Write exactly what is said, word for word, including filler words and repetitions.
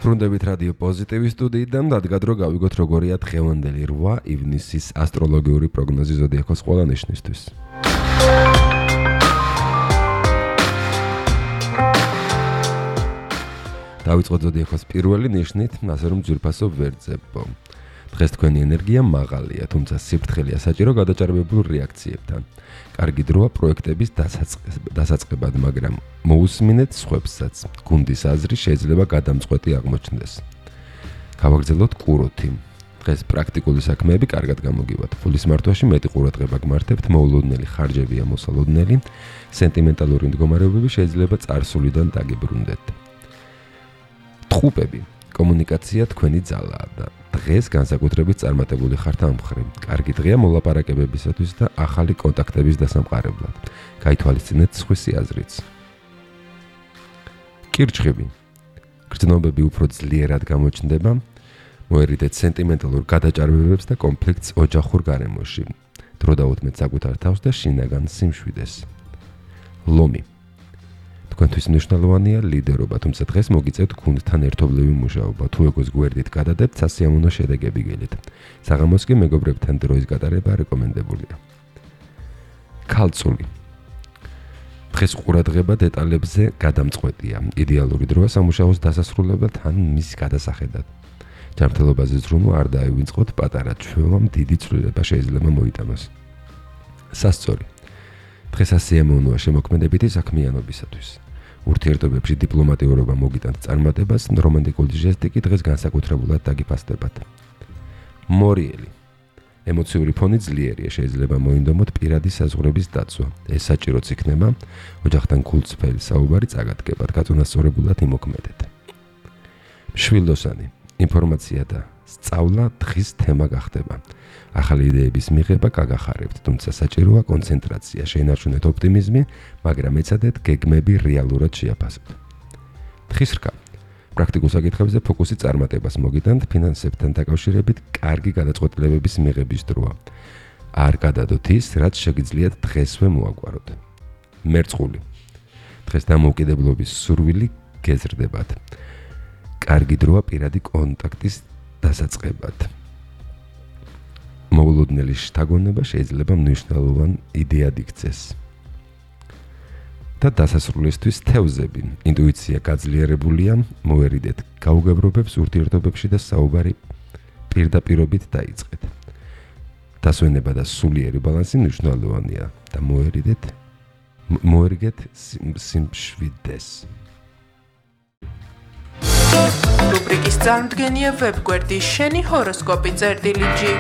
ბრუნდებით რადიო პოზიტივის სტუდიიდან დადგა დრო გავიგოთ როგორია დღევანდელი რვა ივნისის ასტროლოგიური პროგნოზი ზოდიაქოს ყველა ნიშნისთვის. დავიწყოთ ზოდიაქოს პირველი ნიშნით, ასე რომ ძვირფასო ვერძებო. დღეს თქვენი ენერგია მაღალია, თუმცა სიფრთხილეა საჭირო გადაჭარბებულ რეაქციებთან. კარგი დროა პროექტების დასაწყებად, მაგრამ მოусმინეთ სხვებსაც. გუნდის აზრი შეიძლება გადამწყვეტი აღმოჩნდეს. გავაგრძელოთ კუროთი. დღეს პრაქტიკული საქმეები კარგად გამოგივათ. ფულის მართვაში მეტი ყურადღება გმართებთ, მოულოდნელი ხარჯებია მოსალოდნელი, სენტიმენტალური მდგომარეობები შეიძლება წარსულიდან დაგიბრუნდეთ. ტყუპები. კომუნიკაცია თქვენი ძალაა და დღეს განსაკუთრებით წარმატებული ხართ ამ მხრივ. კარგი დღეა მოლაპარაკებებისათვის და ახალი კონტაქტების დასამყარებლად. გაითვალისწინეთ სხვისი აზრიც. კირჩხიბი. გრძნობები უფრო ძლიერად გამოჩნდება. მოერიდეთ სენტიმენტალურ გადაჭარბებებს და კონფლიქტს ოჯახურ გარემოში. დრო დაუთმეთ საკუთარ თავს და შინაგან სიმშვიდეს. ლომი. თქვენთვის მნიშვნელოვანია ლიდერობა, თუმცა დღეს მოგიწევთ გუნდთან ერთობლივი მუშაობა. თუ ეგოს გვერდით გადადებთ, სასიამოვნო შედეგები გელით. საღამოს კი მეგობრებთან დროის გატარება რეკომენდებულია. ქალწული. დღეს ყურადღება დეტალებზე გადამწყვეტია. იდეალური დროა სამუშაოს დასასრულებლად ან მის გადასახედად. ჯანმრთელობაზე ზრუნვა არ დაივიწყოთ, პატარა ჩვევამ დიდი ცვლილება შეიძლება მოიტანოს. სასწორი. დღეს ასიამოვნოა შემოქმედებითი საქმიანობისათვის. ურთიერთობებში დიპლომატიურობა მოგიტანთ წარმატებას, რომანტიკული ჟესტი კი დღეს განსაკუთრებულად დაგიფასდებათ. მორიელი. ემოციური ფონი ძლიერია, შეიძლება მოინდომოთ პირადი საზღვრების დაცვა. ეს საჭიროც იქნება, ოჯახთან გულწრფელი საუბარი წაგადგებათ, გაწონასწორებულად იმოქმედეთ. მშვილდოსანი. ინფორმაცია და სწავლა დღის თემა გახდება. ახალი იდეების მიღება გაგახარებთ, თუმცა საჭიროა კონცენტრაცია, შეინარჩუნეთ ოპტიმიზმი, მაგრამ ეცადეთ გეგმები რეალურად შეაფასოთ. თხისრკა. პრაქტიკულ საკითხებზე ფოკუსი წარმატებას მოგიტანთ, ფინანსებთან დაკავშირებით კარგი გადაწყვეტილებების მიღების დროა. არ გადადოთ ის, რაც შეგიძლიათ დღესვე მოაგვაროთ. მერწყული. დღეს დამოუკიდებლობის სურვილი გეზრდებათ. კარგი დროა პირადი კონტაქტის დასაწყებად. მოულოდნელი შთაგონება შეიძლება მნიშვნელოვან იდეად იქცეს. და დასასრულისთვის თევზები. ინტუიცია გაძლიერებულია, მოერიდეთ გაუგებრობებს ურთიერთობებში და საუბარი პირდაპირობით დაიწყეთ. დასვენება და სულიერი ბალანსი მნიშვნელოვანია და მოერიდეთ მოერგეთ სიმშვიდეს. რუბრიკის წარმდგენია ვებგვერდი შენი ჰოროსკოპი წერტილი ჯი.